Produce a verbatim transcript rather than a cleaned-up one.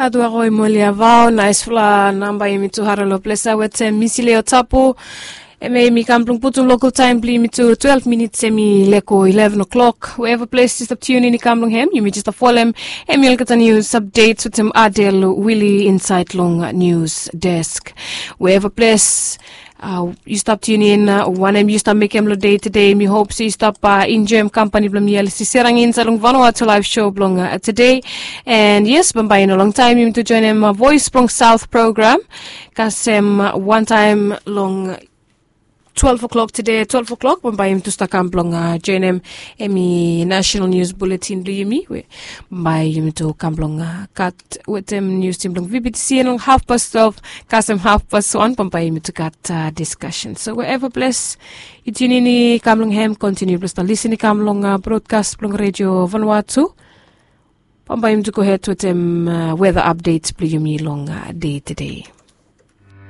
Aduaro i moli avao na espela namba yumi tu hara long ples ya wetem Misileo Tapu. Em ya yumi kam blong putum lokal taem blong yumi tu twelve minits em i leko eleven o'clock. Wherever ples yu stap tiunin i kam long hem yumi just folem em i olgeta nius updates wetem Adel Willie inside long news desk. Wherever ples yu stap tiunin wanem yu stap mekem long dei tede, mi hop se yu stap enjoem kampani blong mi alisi serang insait long Vanuatu laif show blong tede. And yes, bambae i no longtaem yumi tu joinim voice blong South program kasem wantaem long twelve o'clock tede, twelve o'clock bambae yumi tu stap kam blong joinim em i national news bulletin blong yumi we bambae yumi tu kam blong gat wetem nius tim blong VBTC long half past twelve kasem half past one bambae yumi tu gat discussion. So wherever ples yu tiunin i kam long hem, kontiniu blong stap lisin i kam long broadcast blong Radio Vanuatu. Bambae yumi tu go hed wetem weather updates blong yumi long dei tede.